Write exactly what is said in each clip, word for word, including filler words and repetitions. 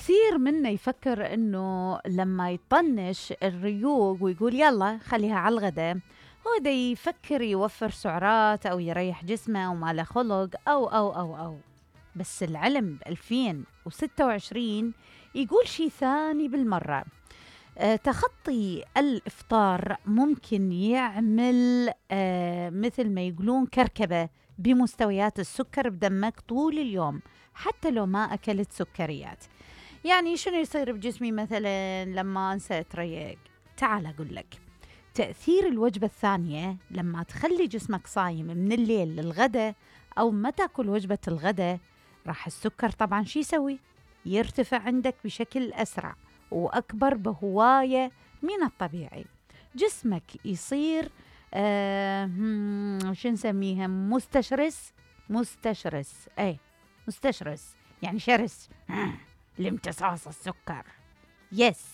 كثير منا يفكر إنه لما يطنش الريوق ويقول يلا خليها على الغداء هو دا يفكر يوفر سعرات أو يريح جسمه وما له خلق أو أو أو أو بس العلم بألفين وستة وعشرين يقول شي ثاني بالمرة. أه تخطي الإفطار ممكن يعمل أه مثل ما يقولون كركبة بمستويات السكر بدمك طول اليوم حتى لو ما أكلت سكريات. يعني شنو يصير بجسمي مثلا لما أنسى أتريق؟ تعال أقول لك. تأثير الوجبة الثانية لما تخلي جسمك صايم من الليل للغداء أو ما تأكل وجبة الغداء، راح السكر طبعا شي يسوي؟ يرتفع عندك بشكل أسرع وأكبر بهواية من الطبيعي. جسمك يصير آه شو نسميها مستشرس مستشرس أي مستشرس يعني شرس لامتصاص السكر. يس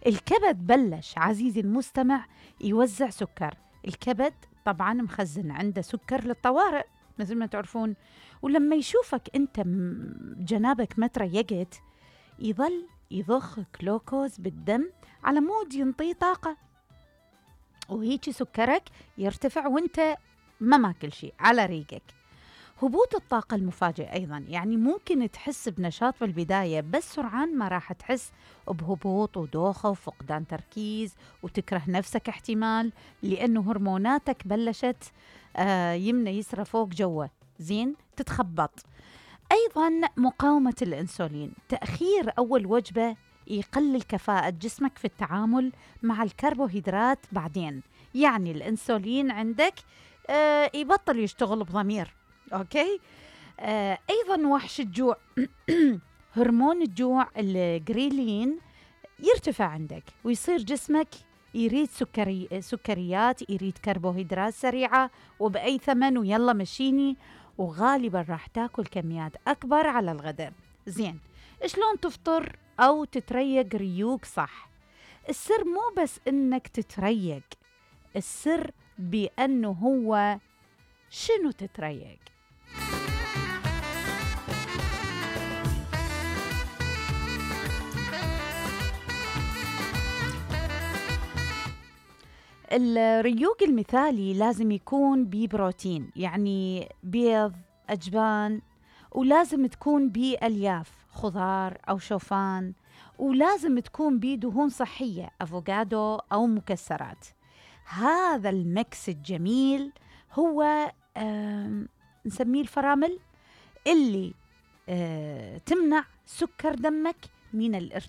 الكبد بلش عزيزي المستمع يوزع سكر. الكبد طبعا مخزن عنده سكر للطوارئ مثل ما تعرفون، ولما يشوفك انت جنابك ما تريقت يظل يضخ جلوكوز بالدم على مود ينطي طاقة، وهيك سكرك يرتفع وانت ما ماكل شيء على ريقك. هبوط الطاقة المفاجئ أيضاً، يعني ممكن تحس بنشاط في البداية بس سرعان ما راح تحس بهبوط ودوخة وفقدان تركيز وتكره نفسك احتمال لأنه هرموناتك بلشت آه يمنى يسرى فوق جوه زين تتخبط. أيضاً مقاومة الأنسولين، تأخير أول وجبة يقلل كفاءة جسمك في التعامل مع الكربوهيدرات بعدين، يعني الأنسولين عندك آه يبطل يشتغل بضمير. أوكي آه، أيضاً وحش الجوع هرمون الجوع الجريلين يرتفع عندك ويصير جسمك يريد سكري سكريات، يريد كربوهيدرات سريعة وبأي ثمن ويلا مشيني، وغالباً راح تاكل كميات أكبر على الغداء. زين شلون تفطر أو تتريق ريوق صح؟ السر مو بس إنك تتريق، السر بأنه هو شنو تتريق. الريوق المثالي لازم يكون ببروتين، يعني بيض أجبان، ولازم تكون بألياف خضار أو شوفان، ولازم تكون بدهون صحية أفوكادو أو مكسرات. هذا المكس الجميل هو نسميه الفرامل اللي تمنع سكر دمك من الارتفاع